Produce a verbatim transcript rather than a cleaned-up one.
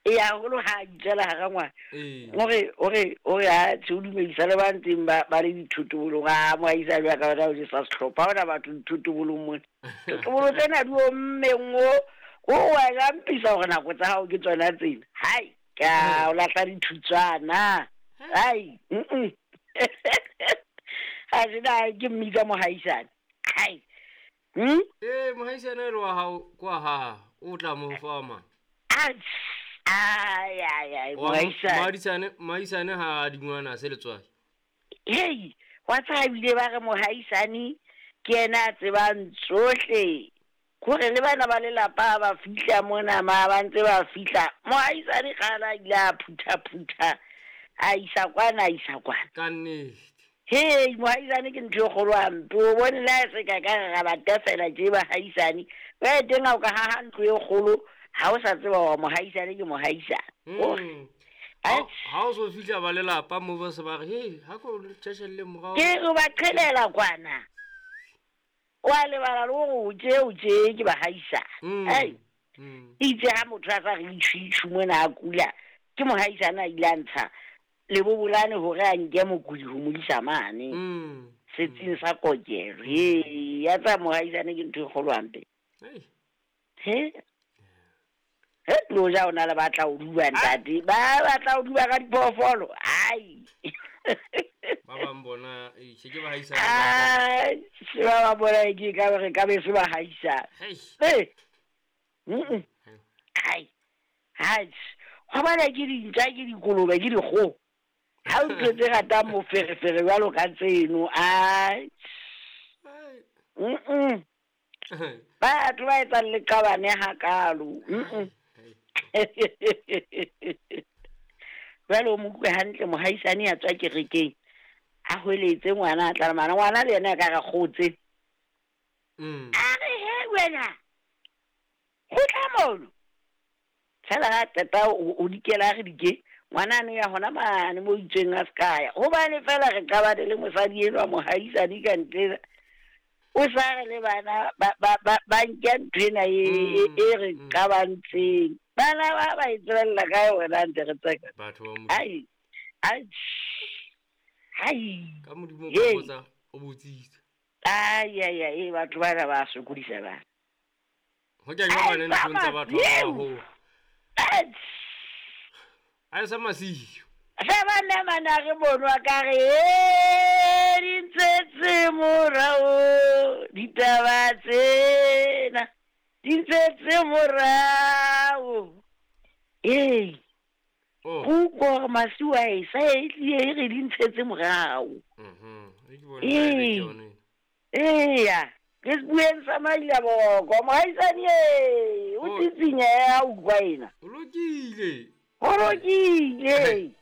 E haholo ha a itswela hara ngwana. Ee. Ore ore ore ha tse o dumedisa le ba ntseng ba ba le dithotobolong, a moahisane wa ka wena o jesa sehlopha, ha hona batho dithotobolong mona. Thotobolo tsena di ommeng o, o wa jampisa hore nako tsa hao ke tsona tsena. Hai, ka o lahla dithutswana. Hai, mm. Ha se na ke mmitsa mohaisane. Hai. Hmm? Ee, mohaisane e le wa hao kwa ha o tla mo fa ma. Ai, ai ai ai, Wa mohaisane. Mohaisane, mohaisane ha a dingwana se letswai. Hei, wa tseba ebile ba re mohaisane ke yena a tsebang tsohle. Hore le bana ba lelapa ba fihla mona ma ba ntse ba fihla. Mohaisane kgale a ile a phutha-phutha, a isa kwana, a isa kwana. Ka nnete. Hei, mohaisane ke ntho e kgolo hampe. O bone le ha e se ka ka re ra ba tefela tje bahaisane. Jwale teng ha o ka haha ntlo e kgolo, ha o sa tseba hore mohaisane ke mohaisane. Hore. Mm. Atjhe. Ha o so fihla ba lelapa moo ba se ba re, "Hei, ha ko tjhetjhelle morao." Ke re ba qhelela kwana. Wa lebala le hore o tje, o tje ke bahaisane. Mm. Ai. Mm. Itse ha motho a sa re itjhu-itjhu mona a kula, ke mohaisane a ile a ntsha lebobolane hore a nke mokudi ho mo isa mane. Mm. Setsing sa kokelo. Hei, ya tsa mohaisane ke ntho e kgolo hampe. Hei. He? He, lo ja o na le batla ho duba ntate. Ba batla ho duba ka diphoofolo. Ai. Ba bang bona, eh, se ke bahaisane. Ai, se ba ba bona ke ka re ka be se bahaisane. Hei. Eh. Mm. Ai. Ai. Ho bana ke dintja, ke dikolobe, ke dikgoho. Ha o ntho tse ratang moferefere jwalo ka tseno. Ai. Ai. Mm. Batho ba etsang leqabane hakalo. Mm. Jwale o mo utlwe hantle mohaisane ya tswa kerekeng. A hweletse ngwana a tla le mane. Ngwana le yena a ka re kgotse. Mm. A re, he wena. Kgutla mono. Fela ha qeta o, o dikela a re dike. Ngwana ane ya hona mane mo itsweng a se ka ya. Hobane fela re qabane le mosadi enwa mohaisane ka ntle. O sa re le bana ba, ba, ba, ba nke ntho ena e, e, e re Mm. qabantseng. Bana ba ba e tswella ka yona ntse re tseka. Batho ba Modimo. Ai. Ai. Ai. Ka Modimo o Hei. botsa, o botsitse. Ai, ai, ai, batho bana ba sokodisa bana. Ho kenya Ai, bana nthong tsa batho ba Masiu. baholo. Ai. Ai sa Masiu. Se ba nna re bonwa ka re, "Eh, di ntshetse morao ditaba tsena, di ntshetse morao." Ee. Oh. Go utlwa hore Masiu a e sa e tlile e re di ntshetse morao. Mhm. E ke bona e Ee. ke yone. Eya, ke sebueng sa Mailaboko, mohaisane e, o Oh. tsitsinyeha ha utlwa ena. O lokile. Ho lokile.